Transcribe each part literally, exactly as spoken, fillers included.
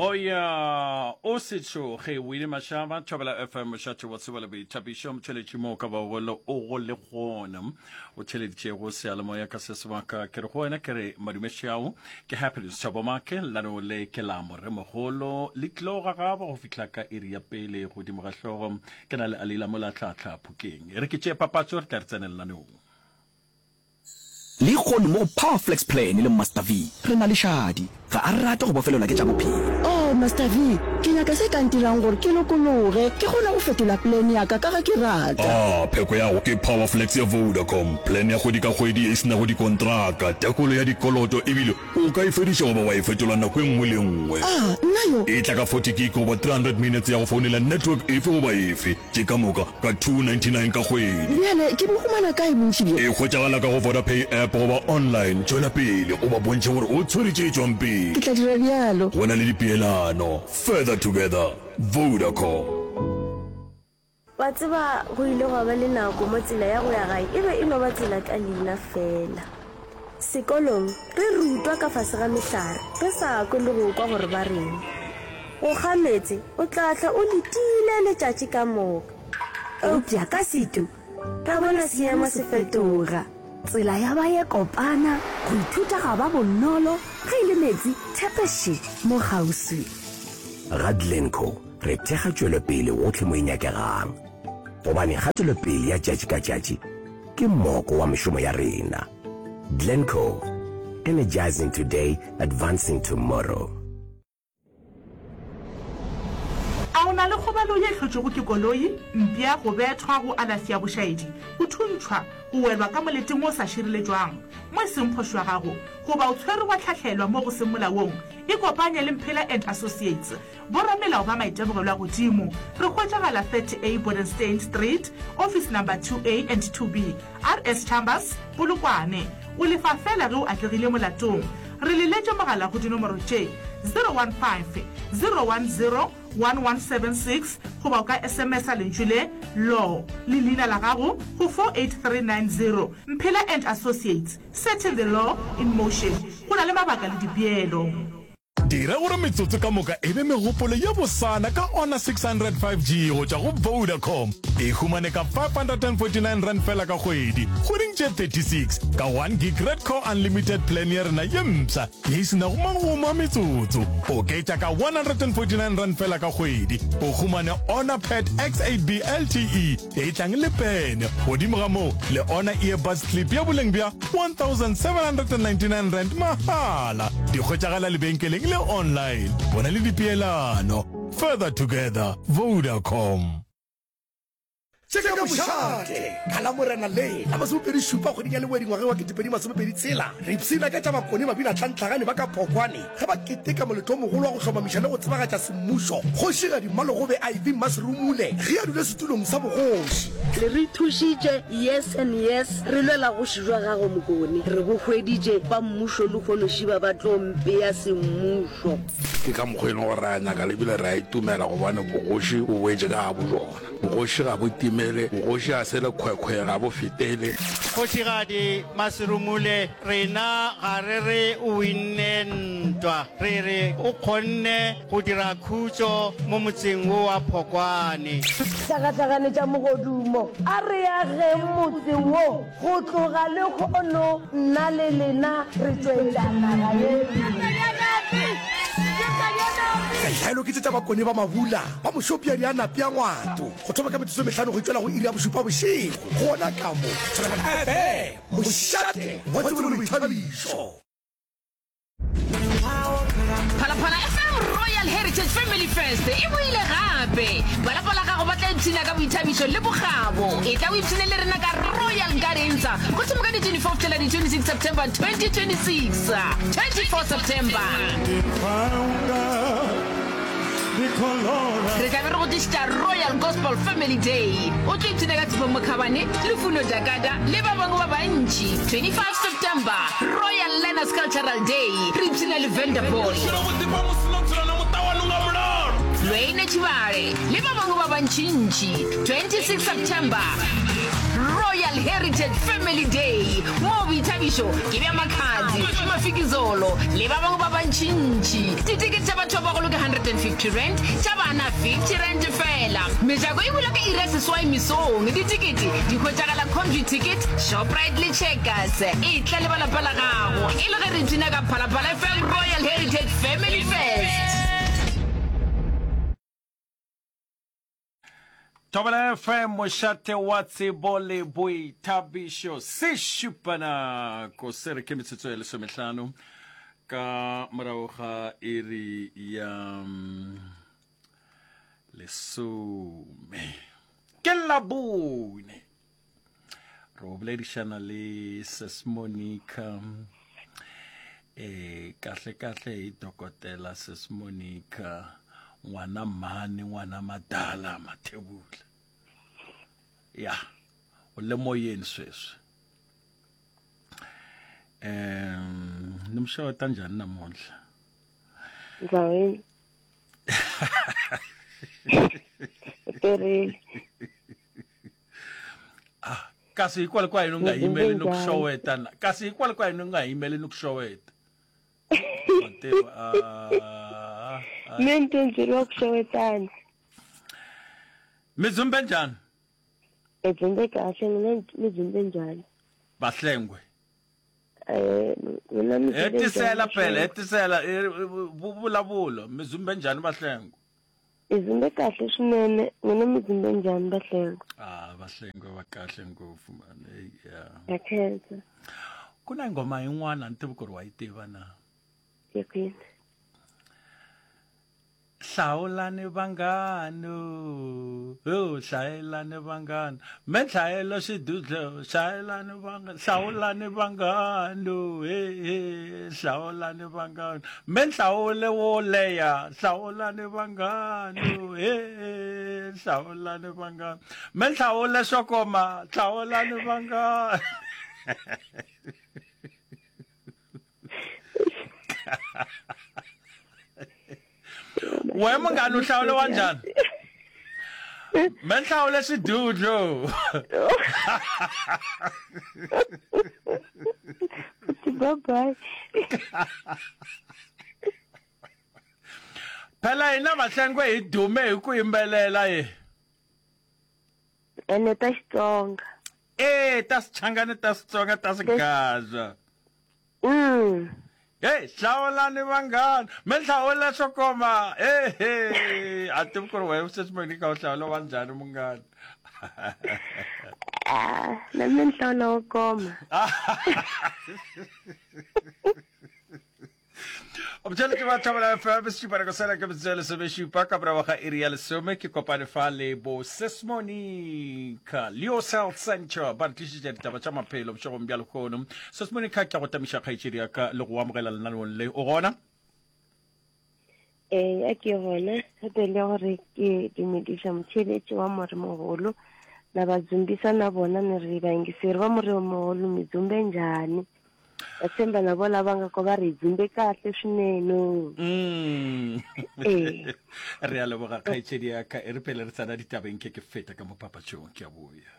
Oya, o se tšhoge, Winnie Mashaba, Thobela F M, mošate wa tsebo le boithabišo, motheletši mo o ka bago le o go le gona. O theleditšego seyalemoya ka se sebaka, ke re go wena ke re madumešao, ke Happiness Thabo Make, lano le ke la moremogolo, le tlo gagaba go fihla ka iri ya pele godimo ga hlogo, ke na le Alila Molatlahla Phokeng. E re ke tšee papatšo, re tla re tsene lenaneong. Lehono mo go Power Flex Plan le Master V re na le Shadi. Ga a rate go bofelelwa ke tša bophelo. Oh, Master V, ke nyaka se ka ntirang gore ke lokologe, ke kgone go fetola plan ya ka ka ge ke rata. Ah, pheko ya go ke Power Flex ya Vodacom, plan ya kgwedi ka kgwedi ye e se nago dikontraka, tekolo ya dikoloto ebile o ka e fediša goba wa e fetola nako e nngwe le e nngwe. Ah, nna yo! E tla ka forty gig goba three hundred minutes ya go founela network efe goba efe. Tše ka moka ka two ninety nine ka kgwedi. Bjale ke bo humana kae bontši bjo? E hwetšagala ka go Vodapay app goba online. Tšwela pele o ba bontšhe gore o tshwere tše tšwang pele. Ke tla dira bjalo. Go na le dipeelano. Further together. Vodacom. Wa tseba, go ile gwa ba le nako mo tsela ya go ya gae e be e no ba tsela ka leina feela. Sekolong, re rutwa ka fase ga mehlare, re sa kwe le go kwa gore ba reng. Go kga meetse, o tla hlwa o letile letšatši ka moka. Eupša ka setu, ra bona seemo se fetoga. Tsela ya ba ye kopana, go ithuta ga ba bonolo, ge e le meetse, thepe še, mo kgauswi. Ga Glencoe re thekga tšwelopele gohle mo e nyakegang, gobane kgatelopele ya tšatši ka tšatši ke moko wa mešomo ya rena. Glencoe, energizing today, advancing tomorrow. A o na le kgobalo ye e hlotšwego ke koloi, mpša, go bethwa, go alafi ya bošaedi, go thuntšhwa, go welwa ka moleteng wo o sa šireletšwang, mo e seng phošo ya gago, goba o tshwerwe wa hlahlelwa mo go seng molaong? Ikopanye le Mphela and Associates, boramelao ba maitemogelo a godimo. Re hwetšagala thirty A Bodenstein Street, Office Number two A and two B, R S Chambers, Polokwane. O lefa feela ge o atlegile molatong. Re leletše mogala go dinomoro tše, zero one five, zero one zero, one one seven six goba o ka S M S-a lentšu le, Law, le leina la gago go four eight three nine zero. Mphela and Associates, setting the law in motion. Go na le mabaka le dipeelo. Dira gore metsotso ka moka e be megopolo ye bosana ka Honor six hundred five G go tšwa go Vodacom. E humane ka five hundred and forty nine rand fela ka kgwedi, kgweding tše thirty six, ka one gig Red Core Unlimited plan ya rena ye mpsha ye e se nago magomo a metsotso. Oketša ka one hundred and forty nine rand fela ka kgwedi, o humane Honor Pad X eight B L T E e tlang le pene. Godimo ga moo, le Honor Earbuds Clip ya boleng bja one thousand seven hundred and ninety nine rand mahala. Di hwetšagala lebenkeleng le online. Bona le dipeelano. Further together, Vodacom. Tše ka mošate ka Lamorena le la masomepedi šupa kgweding ya Lewedi ngwageng wa ketepedi masomepedi tshela, re ipshina ka tša Bakone Babinatlhantlhagane ba ka Phokwane ge ba keteka moletlo o mogolo wa go hlomamiša le go tsebagatša semmušo Kgošigadi Mmalogobe Ivy Mmaserumule ge a dula setulong sa bogoši. Le re thušitše, yes and yes, re lwela go šijwa gago Mokone. Re bo hweditše, ba mmušo lehono šiba ba tlo mpea semmušo. Ke ka mokgwa e leng gore re a nyaka le bile re a itumela gobane bogoši bo boetše ka gabo bjona. Bogoši ga bo timele, bogoši ga se lekhwekhwe, ga bo fetele. Kgošigadi Maserumule, rena ga re re o winne ntwa, re re o kgonne go dira khutšo mo motseng wo wa Phokwane. Hlakahlakane tša mogodumo, a re ageng motse wo. Go tloga lehono nna le lena re tšwetša naga ye pele. Ditlhaelo ke tše tša Bakone ba Mabula ba Mošopja Dianapi a Ngwato go thoma ka metsotso e mehlano go itšwela go iri ya bošupa bošego gona ka mo Thobela F M, mošate wa tsebo le boithabišo. Phalaphala F M Royal Heritage Family Fest e boile gape! Ba lapa la gago ba tla ipshina ka boithabišo le bokgabo. Etla o ipshine le rena ka Royal Gardens go thoma ka di twenty four go fihlela di twenty six September twenty twenty six. twenty four September. Re tla be re go tlišetša Royal Gospel Family Day. O tlo ipshina ka Tshepo Mokhabane, Lufuno Jakada le ba bangwe ba bantši. twenty five September, Royal Learners Cultural Day, re ipshina le Vanderboy, Lwayne Tshibale le ba bangwe ba bantšintši. twenty six September, Royal Heritage Family Day, moo boithabišo ke bja Makhadzi, Mafikizolo le ba bangwe ba bantšintši. Ditekete tša batho ba bagolo ke hundred and fifty rand, tša bana fifty rand fela. Mejako e bula ka iri ya seswai mesong. Ditekete di hwetšagala Computicket, Shoprite le Checkers. Etla le ba lapa la gago e le ge re ipshina ka Phalaphala F M Royal Heritage Family Fest. Thobela F M, mošate wa tsebo le boithabišo, se šupa nako se re ke metsotso ya lesomehlano ka morago ga iri ya mm, lesome. Ke Labone, re o boledišana le Sis Monica, e kahle kahle e dokotela Sis Monica, ngwana mmane, ngwana madala Mathebula. Ya, o le moyeni sweswi. Em, ni muxeweta njhani namuntlha? Ndzawini. Perile. Ah, kasi hikwalaho ka yini u nga Ni yimeli ni ku njhani? xeweta na? Kasi hikwalaho ka yini u nga yimeli ni ku xeweta? Mativa, ah, ah. Mi ni tindzeriwa ku xewetana. Mi dzumbe njhani? Mi dzumbe kahle, mina mi dzumbe njhani? Vahlengwe. Eh, mina mi dzumbe Hetisela njhani, phela, Vahlengwe? hetisela, eh, vu-, vulavulo, mi dzumbe njhani Vahlengwe? Mi dzumbe kahle swinene, mina mi dzumbe njhani Vahlengwe? Ah, Vahlengwe va kahle ngopfu man. Hey, yeah. Ya khensa. Ku na nghoma yin'wana ni tivi ku ri wa yi tiva na? Ya kwini? Hlawulani vanghano, ho hlayelani vanghano, me hlayela xidudlo, hlayelani vanghano, hlawulani vanghano, he he, hlawulani vanghano, me hlawule wo leha, hlawulani vanghano, he he, hlawulani vanghano, me hlawule swo koma, hlawulani vanghano. We munghana u hlawule wa njhani? Me hlawule xidudlo. Bye bye. Phela hina Vahlengwe hi dume hi ku yimbelela ye. Ene ta Xitsonga. Eh, ta Xichangani, ta Xitsonga, ta Xigaza. Mm. Hey, hlawulani vanghana, me hlawula swo koma. Hey, hey, a tivi ku ri wena sweswi Monica u hlawula wa njhani munghana? Ah, na mina ni hlawula wo koma. Motšheletši wa Thobela F M, sešupa nako sela ke metsotso ya lesomešupa ka morago ga iri ya lesome. Ke kopane fa le bo Sis Monica, Leos Health Center, ba re tlišetša ditaba tša maphelo bošegong bja lehono. Sis Monica, ke a go tamiša kgaetšedi ya ka le go amogela lenaneong le. O gona? Ee, a ke gona. Gape le gore ke dumediša motšheletši wa moremogolo na ba dzumbisa na bona ni ri vayingiseri va moremogolo mi dzumbe njhani? Va tshemba na vona va nga ko va ri dzumbe kahle swinene. Mm. Ee. Re a leboga kgaetšedi ya ka, e re pele re tsena ditabeng ke ke feta ka mo papatšong, ke a boya.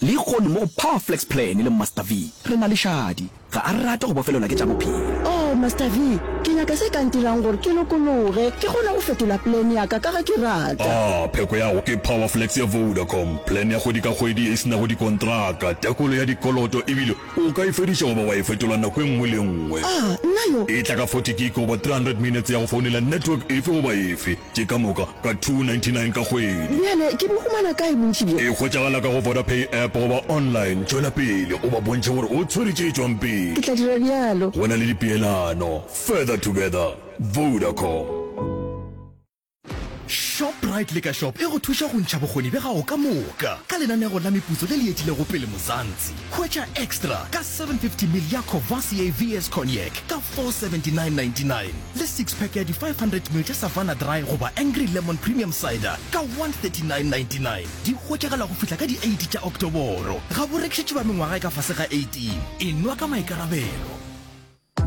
Lehono mo go Power Flex Plan le Master V re na le Shadi. Ga a rate go bofelelwa ke tša bophelo. Oh, Master V, ke nyaka se ka ntirang gore ke lokologe, ke kgone go fetola plan ya ka ka ge ke rata. Ah, pheko ya go ke Power Flex ya Vodacom, plan ya kgwedi ka kgwedi e se nago dikontraka, tekolo ya dikoloto ebile o ka e fediša goba wa e fetola nako e nngwe le e nngwe. Ah, nna yo! E tla ka forty gig goba three hundred minutes ya go founela network efe goba efe, tše ka moka ka two ninety-nine ka kgwedi. Bjale ke bo humana kae bontši bjo? E hwetšagala ka go Vodapay app goba online. Tšwela pele o ba bontšhe gore o tshwere tše tšwang pele. Ke tla dira bjalo. Go na le dipeelano. Further together. Vodacom. Shoprite Liquor Shop e go thuša go ntšha bokgoni bja gago ka moka ka lenanego la meputso le le etilego pele Mzansi. Hwetša Extra ka seven fifty mil ya Courvoisier V S Cognac ka four seventy-nine ninety-nine le six pack ya di five hundred mil tša Savanna Dry goba Angry Lemon Premium Cider ka one thirty-nine ninety-nine. Di hwetšagala go fihla ka di eight tša Oktoboro. Ga bo rekišetše ba mengwaga e ka fase ga eighteen. Enwa ka maikarabelo.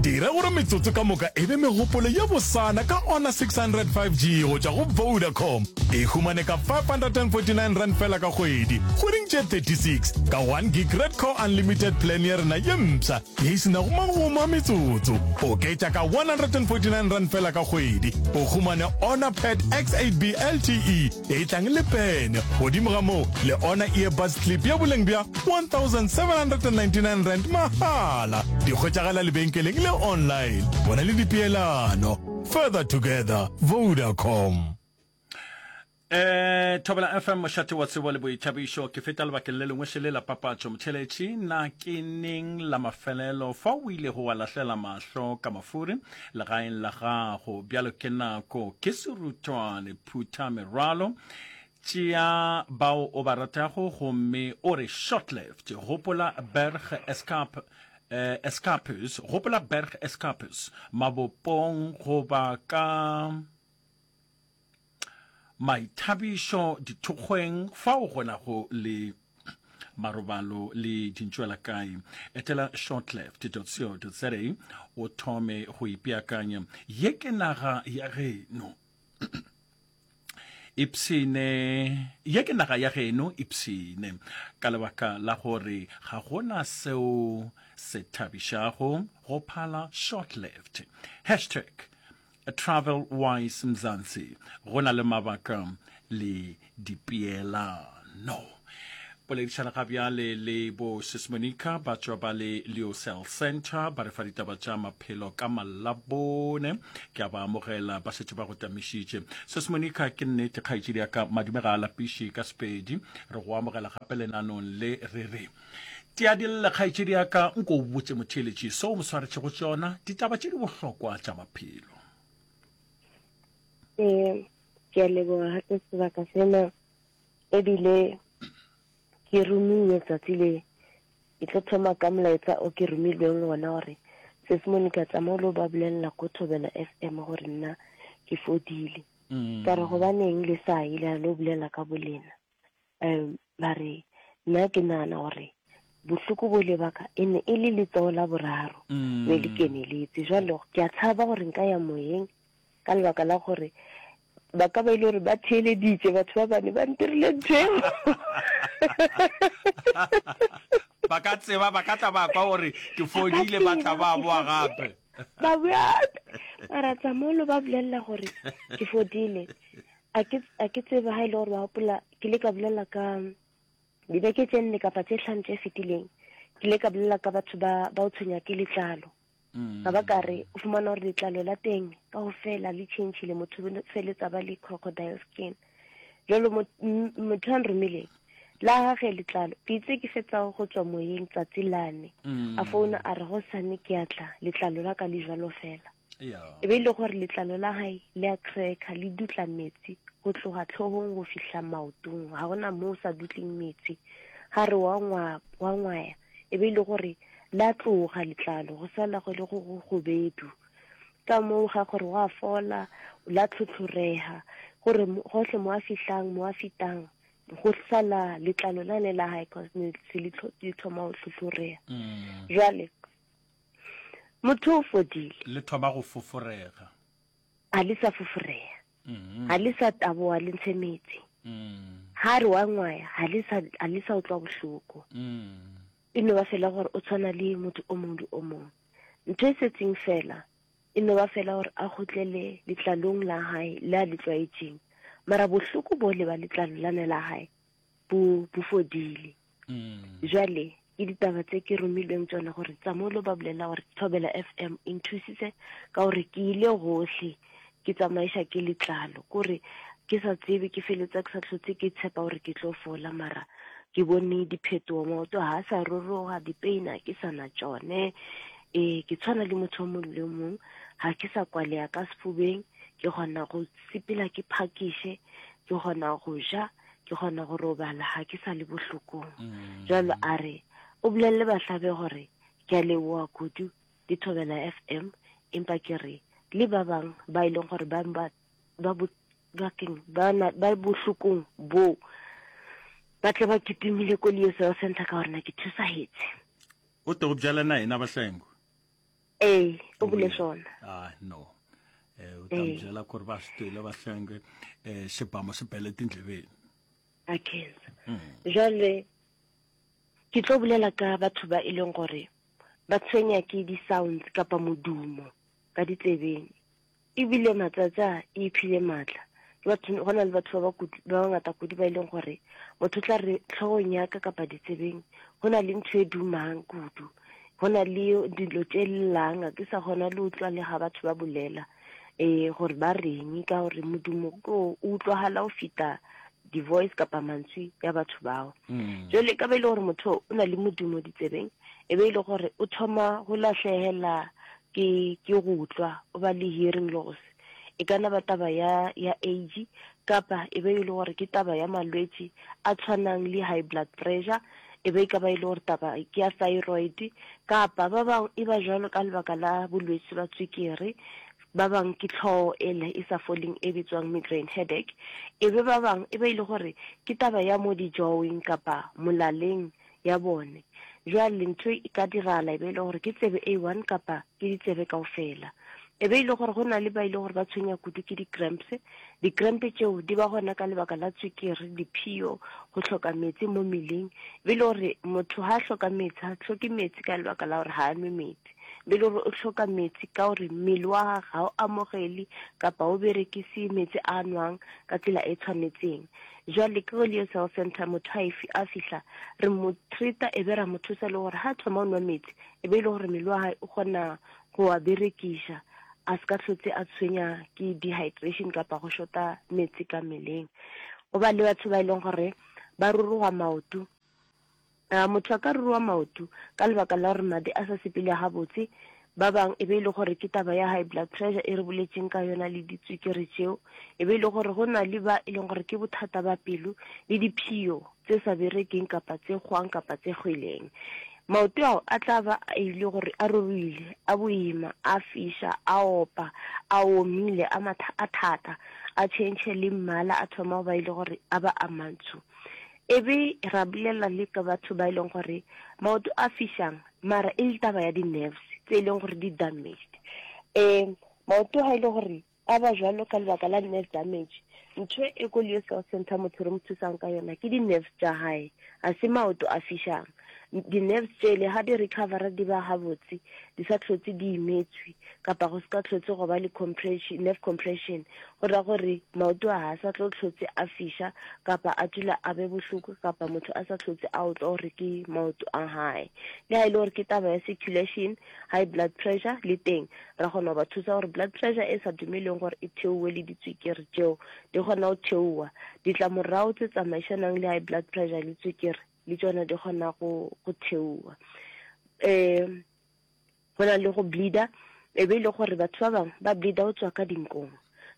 Dira gore metsotso ka moka e be megopolo ye bosana ka Honor six hundred five G go tšwa go Vodacom. E humane ka five hundred and forty nine rand fela ka kgwedi, kgweding tše thirty six, ka one gig Red Core Unlimited plan ya rena ye mpsha ye e se nago magomo a metsotso. Oketša ka one hundred and forty nine rand fela ka kgwedi, o humane Honor Pad X eight B L T E ye e tlang le pene, godimo ga moo le Honor Earbuds Clip ya boleng bja one thousand seven hundred and ninety nine rand mahala. Di hwetšagala lebenkeleng le online. Bona le dipeelano. Further together, Vodacom. Eh, Thobela F M, mošate wa tsebo le boithabišo. Ke feta lebakeng le lengwe šele la papatšo. Motheeletši, na ke neng la mafelelo fa o ilego wa lahlela mahlo ka mafuri legaeng la gago? Bjalo ke nako, ke serutwane, phutha merwalo, tšea bao o ba ratago gomme o re short left. Gopola Berg Escarp, eh, Escarpus, gopola Berg Escarpus mabopong goba ka maithabišo dithokgweng fao go nago le marobalo le dintšwela kae. Etela shortleft dot co dot za o thome go ipeakanya. Ye ke naga ya geno. Ipshine, ye ke naga ya geno, ipshine. Ka lebaka la gore ga gona seo se thabišago go phala shortleft. Hashtag Travel Wise Mzansi, go na le mabaka le dipeelano. Poledišana ga bjale le bo Sis Monica ba tšwa ba le Leo Cell Center, ba re fa ditaba tša maphelo ka Malabone. Ke a ba amogela, ba šetše ba go tamišitše. Sis Monica, ke nnete kgaetšedi ya ka, madume ga a lapiše ka Sepedi. Re go amogela gape lenanong le re re tia dille kgaetšedi ya ka, nko o botše motheeletši seo o mo swaretšego tšona, ditaba tše di bohlokwa tša maphelo. Ee, ke a leboga gape sebaka sena, ebile ke romiwe tsatsi le. Ke tlo thoma ka molaetsa o ke romilweng wona gore Sis Monica tsamao lo ba bolelela ko Thobela F M gore nna ke fodile. Mm. Ka re gobaneng le sa ye la lo bolela ka bolena? Um, ba re nna ke nagana gore bohloko bo le baka e ne e le letsogo la boraro Mm. ne le keneletse. Jwale ke a tshaba gore nka ya moyeng ka lebaka la gore ba ka ba ile gore ba theeleditše batho ba bane ba ntirile ntho eo. Ba ka tseba, ba ka tla ba kwa gore ke fodile, ba tla ba boa gape. Ba boa gape. Mara tsamolo ba bolelela gore ke fodile. A ke, a ke tsebe ha e le gore ba gopola, ke ile ka bolela ka dibeke tše nne kapa tše hlano tše fetileng, ke ile ka bolela ka batho ba, ba o tshwenya ke letlalo. Mm. Ga ba ka re o fumana gore letlalo la teng ka go fela le changile, motho o feletsa ba le crocodile skin. Jalo mo-, m-, motho a nromileng la gage letlalo, ke itse ke fetsa go tswa moyeng tsatsi lane. Mm. A founa a re go sane ke a tla, letlalo la ka le jwalo fela. Yeah. E be e le gore letlalo la hae le a cracker, le dutla metsi go tloga tlhogong go fihla maotong, ga gona mo o sa dutleng metsi. Ga re wa ngwa-, wa ngwaya, e be e le gore la tloga letlalo, go sala go le go go gobedu. Ka moo ga gore wa fola, la tlhotlhorega, gore mo-, gohle mo a fihlang, mo a fetang, go sala letlalo la ne la hae, cause ne se le tlho-, le thoma go tlhotlhorega. Mm. Jwale motho o fodile. Le thoma go foforega. A le sa foforega. Mm. Ha le sa taboa le ntshe metsi. Mm. Ha re wa ngwaya, ha le sa, ha le sa utlwa bohloko. Mm. E no ba fela gore o tshwana le motho o mongwe le o mongwe. Ntho e setseng fela, e no ba fela gore a kgutlele letlalong la hae le a le tlwaetseng. Mara bohloko bo le ba letlalo lane la hae bo, bo fodile. Mm. Jwale ke ditaba tse ke romilweng tsona gore tsamolo ba bolela gore Thobela F M e nthusitse ka gore ke ile gohle ke tsamaiša ke letlalo, kore ke sa tsebe, ke feletsa ke sa hlotse ke tshepa gore ke tlo fola, mara ke bone diphetogo, maoto ha a sa roroga, dipeina ke sa na tšone. Ee, ke tshwana le motho o mongwe le o mongwe, ga ke sa kwalea ka sefubeng, ke kgona go sepela ke phakiše, ke kgona go ja, ke kgona go robala, ga ke sa le bohlokong. Mm. Jwalo a re o bolelle bahlabe gore ke a leboha kudu le Thobela F M, empa ke re le ba bang ba e leng gore ba ba, ba bo, ba keng, ba na, ba bohlokong bo, ba tle ba kitimile ko Leo Cell Center ka gore na ke thusahetse. O te o bjala na ena Bahlengo? Ee, o bule sona. Ah, no. Eh, u ta mi byela ku ri va swi twile va hlenge eh xibamo xi bele tindleveni. A khensa. Jwale ke tlo bolela ka batho ba e leng gore ba tshwenya ke di-sounds kapa modumo ka ditsebeng. Ebile matsatsi a e iphile matla. Ke batho, go na le batho ba ba kudu, ba bangata kudu ba e leng gore motho o tla re hlogong ya ka kapa ditsebeng go na le ntho e dumang kudu. Go na le dilo tše llang, a ke sa kgona le utlwa le ga batho ba bolela eh gore ba reng, ka gore modumo ke o utlwagala o feta di-voice kapa mantswe ya batho bao. Mm. Jwale ka ba e le gore motho o na le modumo ditsebeng, e be e le gore o thoma go lahlegela ke, ke go utlwa, o ba le hearing loss. E ka na ba taba ya, ya age, kapa e be e le gore ke taba ya malwetši a tshwanang le high blood pressure, e be e ka ba e le gore taba ke ya thyroid, kapa ba bangwe e ba jwalo ka lebaka la bolwetši ba tswekere, ba bangwe ke tlhogo ele e sa foleng e bitswang migraine headache, e be ba bangwe e be e le gore ke taba ya mo dijoweng kapa molaleng ya bone. Jwale ntho e ka dirala e be e le gore ke tsebe A one kapa ke ditsebe kaofela. E be e le gore go na le ba e le gore ba tshwenya kudu ke di-cramps. Di-cramp tšeo di ba gona ka lebaka la tswekere, diphio, go hloka metsi mo mmeleng. E be e le gore motho ha a hloka metsi, ha hloke metsi ka lebaka la gore ha a nwe metsi. E be e le gore o hloka metsi ka gore mmele wa gagwe ga o amogele kapa o berekise metsi a nwang ka tsela e tshwanetseng. Jwale ke go Leo's Health Center motho a efi a fihla re mo treata e be ra mo thusa le gore ha thoma o nwa metsi e be e le gore mmele wa hae o kgona go a berekiša, a se ka hlotse a tshwenya ke dehydration kapa go shota metsi ka mmeleng. Go ba le batho ba e leng gore ba ruruga maoto. A motho a ka ruruga maoto ka lebaka la gore madi a sa sepele gabotse. Ba bang e be e le gore ke taba ya high blood pressure e re boletseng ka yona le ditswekere tšeo. E be e le gore go na le ba e leng gore ke bothata ba pelo le diphio tse sa berekeng kapa tse kgwang kapa tse kgweleng. Maoto ao a tla ba a ile gore a ruruile, a boima, a fiša, a opa, a omile, a matha, a thata, a tšhentšhe le mmala, a thoma go ba ile gore a ba a mantsho. E be ra bolela le ka batho ba e leng gore maoto a fišang mara e le taba ya di-nerves tse e leng gore di damaged. Um maoto ha e le gore a ba jwalo ka lebaka la nerve damage, ntho e ko Leo's Health Center motho re mo thusang ka yona ke di-nerves tša hae, a se maoto a fišang. Di-nerves tšele ha di recovera di ba gabotse, di sa hlotse di imetswe kapa go se ka hlotse go ba le compression, nerve compression, go ra gore maoto a ha sa tlo hlotse a fiša kapa a dula a be bohloko kapa motho a sa hlotse a utlwa gore ke maoto a hae. Le ha e le gore ke taba ya circulation, high blood pressure le teng ra kgona go ba thusa gore blood pressure e sa dumeleng gore e theowe le ditswekere tšeo di kgona go theowa. Ditlamorago tse tsamaišanang le high blood pressure le tswekere le tšona di kgona go, go theowa. Um go na le go bleeder, e be e le gore batho ba bangwe ba bleeder go tswa ka dinkong,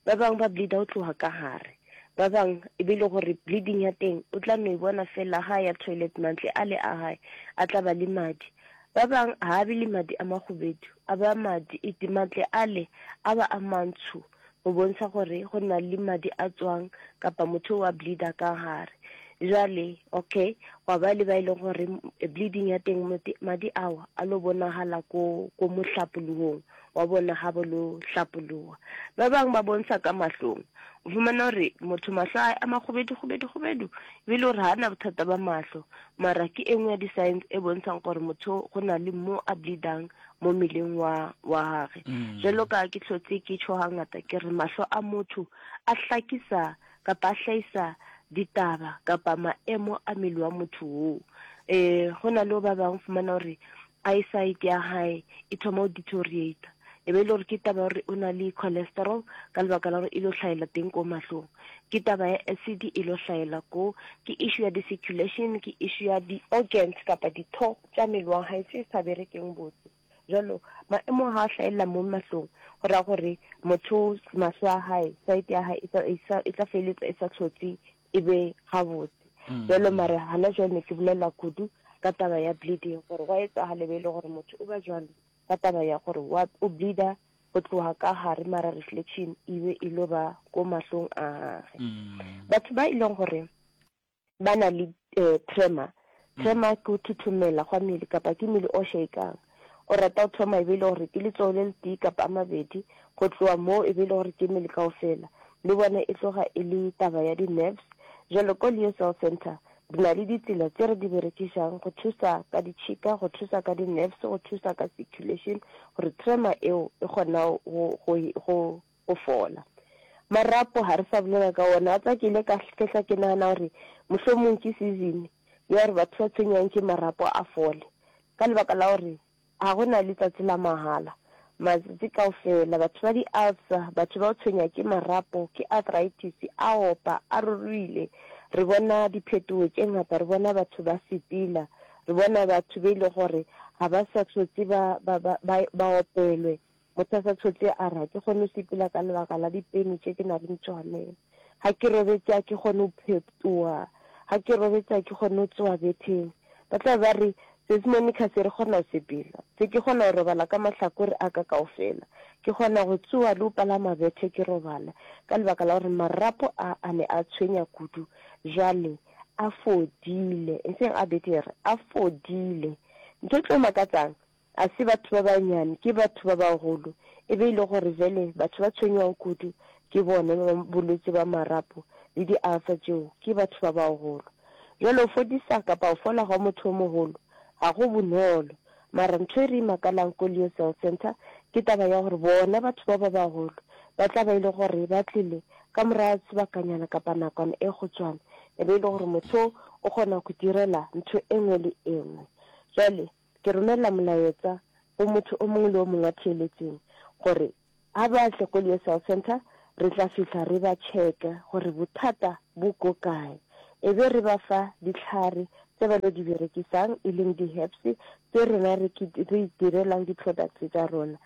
ba bangwe ba bleeder go tloga ka gare, ba bangwe e be e le gore bleeding ya teng o tla no e bona fela ga ya toilet, mantle a le a gae a tla ba le madi. Ba bangwe ga a be le madi a makgobedu, a ba madi e mantle a le a ba a mantsho, go bontsha gore go na le madi a tswang kapa motho wa bleeder ka gare. Jwale okay, gwa ba le ba e leng gore bleeding ya teng madi ao a lo bonagala ko, ko mohlapologong wa bona ga bo lo hlapologa. Ba bangwe ba bontsha ka mahlong, o fumana gore motho mahlo a a makgobedu kgobedu kgobedu, e be le gore ga ana bothata ba mahlo, mara ke e nngwe ya di-signs e bontshang gore motho go na le mo a bleedang mo mmeleng wa, wa gage. Mm. Jwalo ka ke hlotse ke tjho hangata ke re mahlo a motho a hlakisa kapa a hlahisa ditaba kapa maemo a mmele wa motho oo. Eh, go na le ba bangwe fumana gore eyesight ya hae e thoma go deteriorate, e be e le gore ke taba gore o na le cholesterol ka lebaka la gore e lo hlaela teng ko mahlong, ke taba ya acid e lo hlaela ko, ke issue ya di-circulation, ke issue ya di-organs kapa ditho tša mmele wa hae tse sa berekeng botse. Jalo maemo ha a hlaella mo mahlong, go raya gore motho mahlo a hae, sight ya hae e tla, e sa, e tla feletsa e sa hlotse e be gabotse. Mm. Jalo mara hana jwale ne ke bolela kudu ka taba ya bleeding, gore gwa etsagala be e le gore motho o ba jwalo ka taba ya gore wa, o bleeder go tloga ka gare, mara reflection e be e lo ba ko mahlong a gage. Mm. Batho ba e leng gore ba na le, eh, tremor, Mm. tremor ke go thuthumela gwa mmele kapa ke mmele o shakang. O rata go thoma e be e le gore ke letsogo le letee kapa a mabedi, go tloga moo e be e le gore ke mmele kaofela. Le bona e tloga e le taba ya di-nerves. Bjalo ko Leo Cell Centre re na le ditsela tše re di berekišang go thusa ka ditšhika, go thusa ka di-nerves, go thusa ka circulation gore tremor eo e kgona go, go, go, go fola. Marapo ga re sa bolela ka ona, wa tseba ke ile ka hlehla ke nagana gore mohlomong ke season ya gore batho ba tshwenyang ke marapo a fole ka lebaka la gore ga go na letsatsi la mahala. Matsatsi kaofela batho ba di-ulcer, batho ba go tshwenya ke marapo, ke arthritis, a opa, a ruruile. Re bona diphetogo tše ngata, re bona batho ba sepela, re bona batho be e le gore ga ba sa hlotse ba, ba, ba, ba, ba opelwe. Motho a sa hlotse a re, ga ke kgone go sepela ka lebaka la dipeni tše ke na leng tšone. Ga ke robetše ga ke kgone go phetoga. Ga ke robetše ga ke kgone go tsoga betheng. Ba tla be ba re, Sesi Monica, se re kgona go sepela. Se ke kgona go robala ka mahlakore a ka kaofela. Ke kgona go tsoga le go palama bethe ke robala, ka lebaka la gore marapo a a ne a tshwenya kudu. Bjale a fodile. Eseng a betere, a fodile. Ntho e tlo makatsang, a se batho ba banyane, ke batho ba bagolo. E be e le gore bjale batho ba tshwenywang kudu ke bone ba bolwetši ba marapo le di-ulcer tšeo, ke batho ba bagolo. Bjale go fodisa kapa go fola gwa motho o mogolo ga go bonolo. Mara ntho e re imakalang ko Leo Cell Centre ke taba ya gore bona batho ba ba bagolo ba tla ba e le gore ba tlile ka morago ga sebakanyana kapa nakwana e kgutshwane, e be e le gore motho o kgona go direla ntho e nngwe le e nngwe. Jwale ke romela molaetsa go motho o mongwe le o mongwe wa theeletseng gore ga ba tle ko Leo Cell Centre re tla fihla re ba checke gore bothata bo ko kae, e be re ba fa dihlare tse ba lo di berekisang e leng di-herbs tse rena re re itirelang di-products tša rona.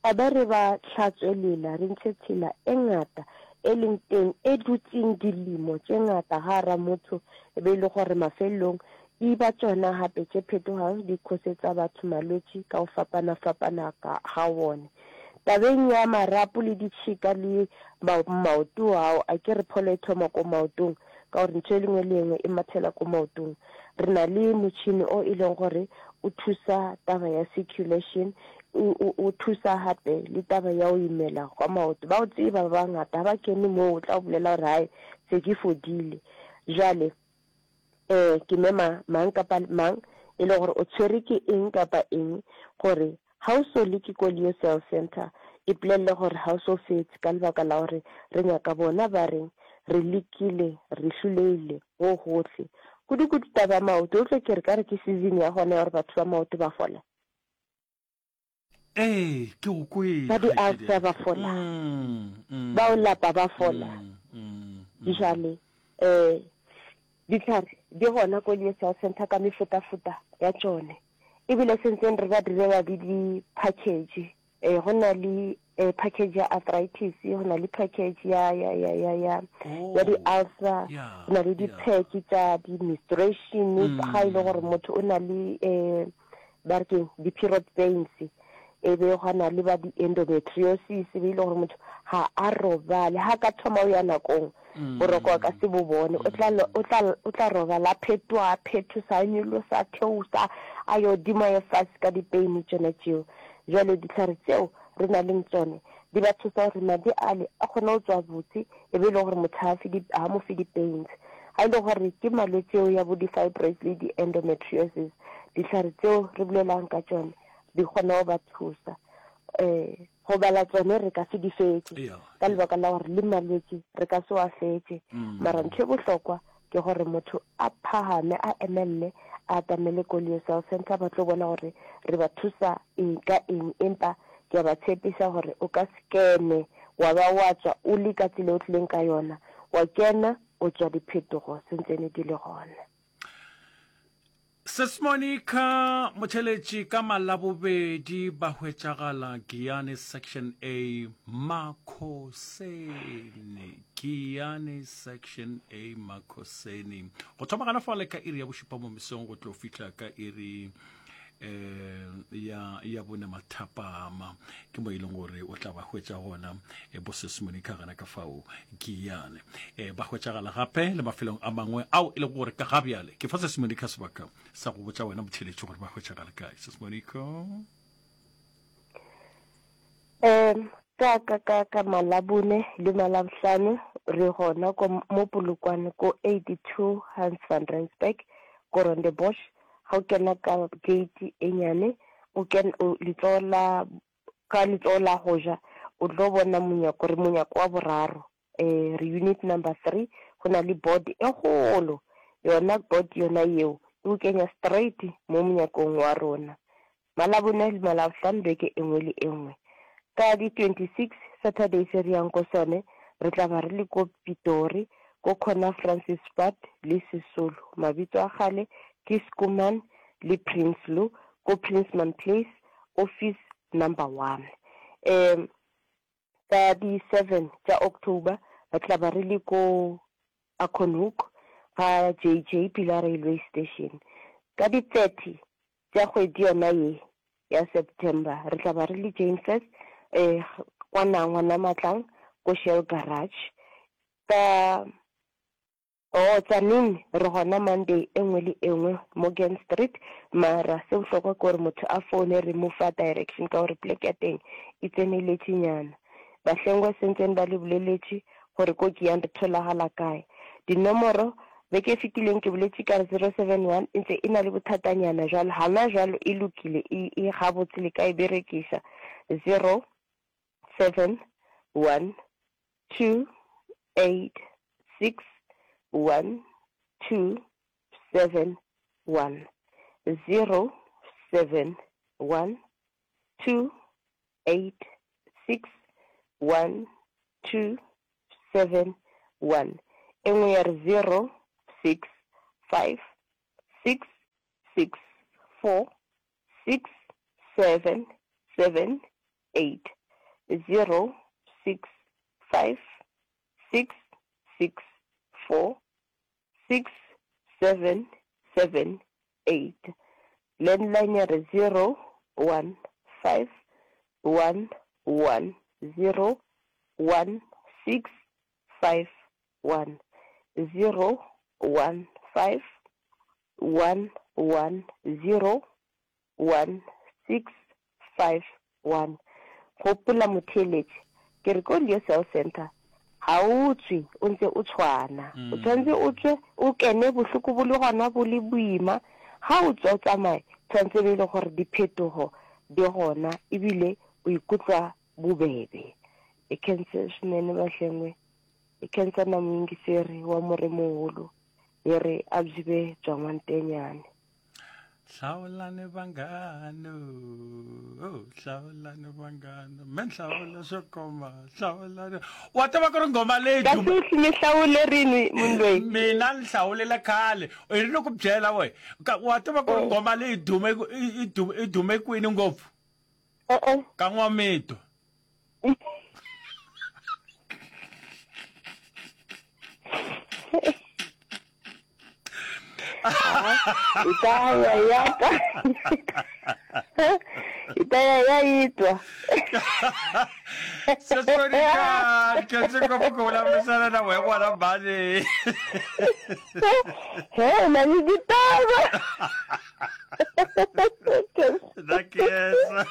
A ba re ba hlatswe lela re ntshe tshela e ngata e leng teng e dutseng dilemo tše ngata gare motho e be e le gore mafelelong e ba tšona gape tše phetogang di khosetsa batho malwetši ka go fapana-fapana ga wone. Tabeng ya marapo le ditšhika le maoto ao, a ke re pholo e thoma ko maotong, ka gore ntho e lengwe le engwe e mathela ko maotong. Re na le motšhini o e leng gore o thusa taba ya circulation, o, o, o thusa gape le taba ya go imela gwa maoto. Ba o tseba ba bangata, ga ba kene moo o tla o bolela gore hai se ke fodile. Jwale um ke mema mang kapa mang e le gore o tshwere ke eng kapa eng gore ga o so leke ko Leo Cell Centre, ipolelele gore ga o so fetse ka lebaka la gore re nyaka bona ba reng re lekile, re hloleile go gohle. Kudu-kudu taba ya maoto, o tlo ke re ka re ke season ya gona ya gore batho ba maoto ba fola. Ee, ke go kwele. Ba di-ulcer ba fola, ba o lapa ba fola. Jale um ditlhare di gona ko Leo Cell Centre ka mefutafuta ya tšone, ebile sentseng re ba direla le di-package. Eh, go na le eh, package ya arthritis, go na le package ya ya ya ya ya ya di-ulcer, go na le di-pack tša di-menstruation, ga e le gore motho o na le eh ba re keng di-period pains, e be gwa na le ba di-endometriosis, e be e le gore motho ga a robale, ga ka thoma o ya nakong boroko a ka se bo bone, o tla o tla o tla robala a phetoga, a phethosa, a nyolosa, a theosa, a yo godimo a ye fase ka dipeini tšona tšeo. Bjale dihlare tšeo re na leng tšone di ba thusa gore madi ale a kgone go tšwa botse, e be e le gore motho ga a mo fe di-pains. Ga e le gore ke malwetši eo ya bo di-fibroids le di-endometriosis, dihlare tšeo re bolelang ka tšone di kgona go ba thusa. Um go bala tsone re ka se di fetše ka lebaka la gore le malwetši re ka se wa fetše, mara ntho e bohlokwa ke gore motho a phahame, a emelele, a atamele ko Leo Cell Centre, ba tlo bona gore re ba thusa eng ka eng. Empa ke a ba tshepiša gore o ka se kene wa ba wa tswa o le ka tsela o tlileng ka yona, wa kena o tswa diphetogo sentsene di le gona. Sis Monica Motšheletši ka Malabobedi ba hwetšagala Giyani Section A Makhoseni. Giyani Section A Makhoseni. Go thoma gana fale ka iri ya bošupa mo mesong go tlo fihla ka iri eh ya ya bone mathapama ke mo e leng gore o tla ba hwetša gona e bo Sis Monica gana ka fao Giyane. E ba hwetšagala gape le mafelong a mangwe ao e lego gore ka ga bjale ke fa Sis Monica sebaka sa go botša wena motheletši gore ba hwetšagala kae. Sis Monica. Um ka ka ka ka Malabone le Malabohlano re gona ko mo Polokwane ko eighty two Hans van Rensburg ko Rondebosch. Ga o kena ka gate e nyane o ken o letsogo la ka letsogo la go ja o tlo bona monyako re monyako wa boraro eh re unit number three go na le board e kgolo yona board yona yeo e o kenya straight mo monyakong wa rona. Malabone le Malabohlano beke e nngwe le e nngwe. Ka di twenty six Saturday se re yang ko sone re tla ba re le ko Pitori ko corner Francis Pat le Sisulu mabitso a kgale ke Schoeman le Prinsloo ko Princeman Place office number one. Um ka di seven tša October re tla ba re le ko Acornhoek ga J J Pila Railway Station. Ka di thirty tša kgwedi yona ye ya September re tla ba re le Jane Furse eh kwa Nangwa Matlang ko Shell Garage. Ka oh Tzaneen re gona Monday e nngwe le e nngwe Morgan Street mara se bohlokwa ke gore motho a foune re mo fa direction ka gore plek ya teng e tseneletše nyana. Bahlengwa sentseng ba le boleletše gore ko ke yang re tholagala kae. Dinomoro beke e fetileng ke boletše ka re zero seven one e ntse e na le bothatanyana jwalo hana jwalo e lokile e e gabotse le ka e berekiša zero seven one two eight six one two seven one zero seven one two eight six one two seven one e nngwe ya re zero six five six six four six seven seven eight zero six five six six four six seven seven eight landline ya re zero one five one one zero one six five one zero one five one one zero one six five one. Gopola motheeletši, ke re ko Leo Cell Center ga o tswe o ntse o tshwana. O tshwanetse o tswe o kene bohloko bo le gona bo le boima. Ga o tswa o tsamaye tshwanetse be e le gore diphetogo di gona ebile o ikutlwa bobebe. E khense swinene bahlengwe e khensa na moyingiseri wa moremogolo ye re a byi be bya n'wantenyane. Hlawulani vanghana, oh, hlawulani vanghana, me nhlawula swo koma, hlawulani. Wa tiva ku ri nghoma leyi Kasi mi hlawule rini munhu loyi? Mina ni hlawulile khale. I ri ni ku byela we. Wa tiva ku ri nghoma leyi dume i dume i dume kwini ngopfu? E-e. Ka N'wamitwa. Hi ta ya ya ta hi ta ya ya yi twa. Sesikonika khense ngopfu ku vulavurisana na wehe n'wana mhani. He u na ni titava. Na khensa.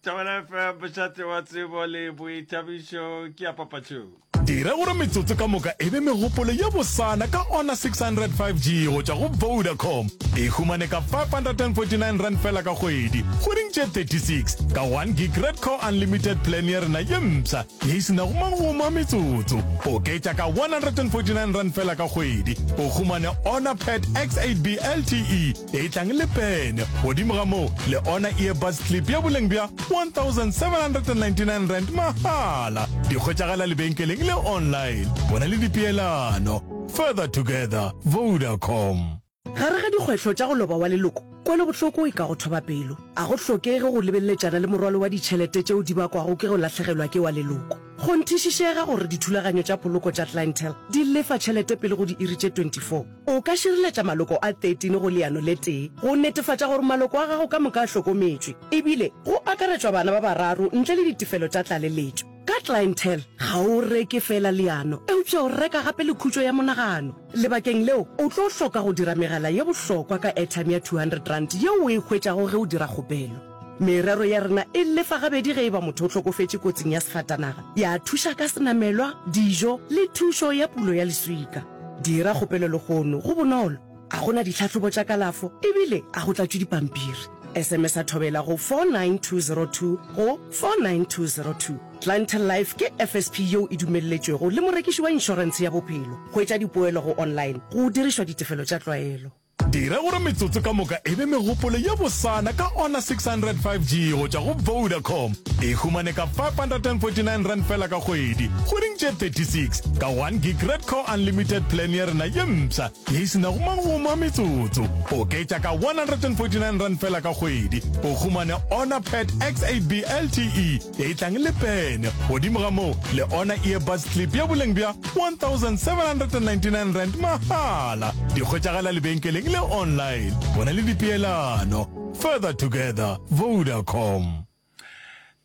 Thobela F M mošate wa tsebo le boithabišo ke ya papatšong. Dira gore metsotso ka moka e be megopolo ye bosana ka Honor six hundred five G go tšwa go Vodacom. E humane ka five hundred and forty nine rand fela ka kgwedi, kgweding tše thirty six, ka one gig Redco Unlimited plan ya rena ye mpsha ye e se nago magomo a metsotso. Oketša ka one hundred and forty nine rand fela ka kgwedi, o humane Honor Pad X eight B L T E e tlang le pene. Godimo ga moo, le Honor Earbuds Clip ya boleng bja one thousand seven hundred and ninety nine rand mahala. Di hwetšagala lebenkeleng le online. Bona le dipeelano. Further together, Vodacom. Gare ga dikgwetlho tša go loba wa leloko, kwelobohloko e ka go thoba pelo. A go hlokege go lebeleletšana le morwalo wa ditšhelete tšeo di bakwago ke go lahlegelwa ke wa leloko. Kgonthišišega gore dithulaganyo tša poloko tša Clientele di lefa tšhelete pele go diiri tše twenty four. O ka šireletša maloko a thirteen go leano le tee go netefatša gore maloko a gago ka moka a hlokometšwe, ebile go akaretšwa bana ba bararo ntle le ditefelo tša tlaleletšo. Ka Clientele, ga o reke feela leano, eupša o reka gape le khutšo ya monagano. Lebakeng leo, o tlo hloka go dira megala ye bohlokwa ka airtime ya two hundred rand yeo o e hwetšago ge o dira kgopelo. Merero ya rena e lefa gabedi ge e ba motho o hlokofetše kotsing ya sefatanaga, ya thuša ka senamelwa, dijo le thušo ya pulo ya leswika. Dira kgopelo lehono, go bonolo, ga go na ditlhahlobo tša kalafo ebile ga go tlatšwe dipampiri. S M S a Thobela go four nine two zero two go four nine two zero two. Clientele Life ke F S P yeo e dumelletšwego le morekiši wa inšorentshe ya bophelo. Hwetša dipoelo go online go dirišwa ditefelo tša tlwaelo. Dira gore metsotso ka moka e be megopolo ye bosana ka Honor six hundred five G go tšwa go Vodacom. E humane ka five hundred and forty-nine rand fela ka kgwedi, kgweding tše thirty-six, ka one gig Red Core Unlimited plan ya rena ye mpsha ye e se nago magomo a metsotso. Oketša ka one hundred and forty-nine rand fela ka kgwedi, o humane Honor Pad X eight B L T E ye e tlang le pene. Godimo ga moo, le Honor Earbuds Clip ya boleng bja one thousand seven hundred and ninety-nine rand mahala. Di hwetšagala lebenkeleng le online. Bona le dipeelano. Further together, Vodacom.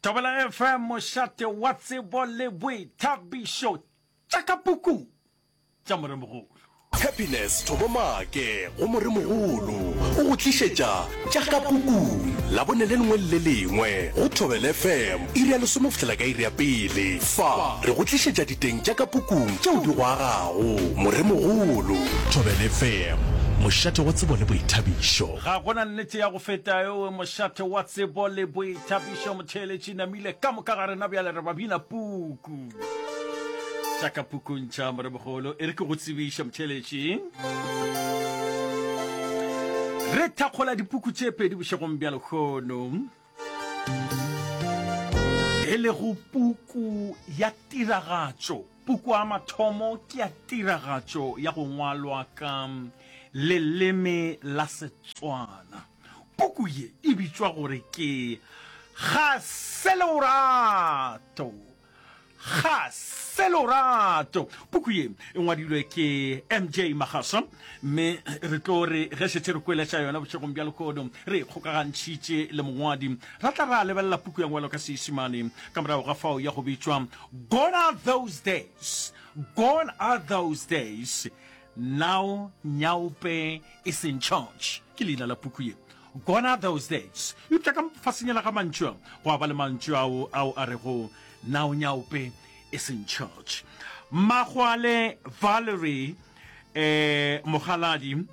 Thobela F M, mošate wa tsebo le boithabišo, tša ka pukung tša Moremogolo. Happiness Thobo Maake go Moremogolo o go tlišetša tša ka pukung Labone le lengwe le le lengwe go Thobela F M iri ya lesome go fihlela ka iri ya pele. Fa re go tlišetša diteng tša ka pukung tšeo di go agago. Moremogolo. Thobela F M, mošate wa tsebo le boithabišo. Ga go na nnete ya go feta eo, mošate wa tsebo le boithabišo. Motheeletši namile ka moka ga rena bjale re ba bina puku. Tša ka pukung tša Moremogolo, e re ke go tsebiše motheeletši. Re thakgola dipuku tše pedi bošegong bja lehono, e lego puku ya tiragatšo. Puku ya mathomo ke ya tiragatšo ya go ngwalwa ka leleme la Setswana. Puku ye e bitšwa gore ke Ga se Lorato. Ga se Lorato. Puku ye e ngwadilwe ke M J Magasa, mme re tlo re ge šetše re kwele tša yona bošegong bja lehono, re e kgokagantšhitše le mongwadi, ra tla ra lebelela puku ya ngwalo ka Seisemane ka morago ga fao ya go bitšwa Gone Are Those Days, Gone Are Those Days, Now Nyaope Is in Charge ke leina la puku ye, Gone Are Those Days. Eupša ka fasenyela ga mantšu a go a ba le mantšu ao ao a rego Now Nyaope Is in Charge. Makgwale Valerie eh, Mogaladi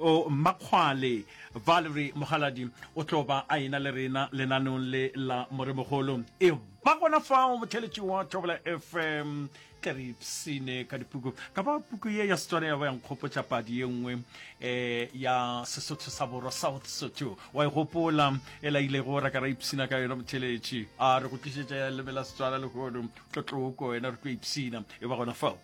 o Makgwale Valerie Mogaladi o tlo ba a ena le rena lenaneong le la Moremogolo. E ba gona fao, motheletši wa Thobela F M, tle re ipsine ka dipuku. Ka ba puku ye ya Setswana ya ba ya nkgopotša padi ye nngwe um ya Sesotho sa Borwa, South Sotho, wa e gopola e la ilego ra ka ra ipsina ka yona, motheletši? A re go tlišetša ya leleme la Setswana lehono, tlotloko wena, re tlo ipsina. E ba gona fao.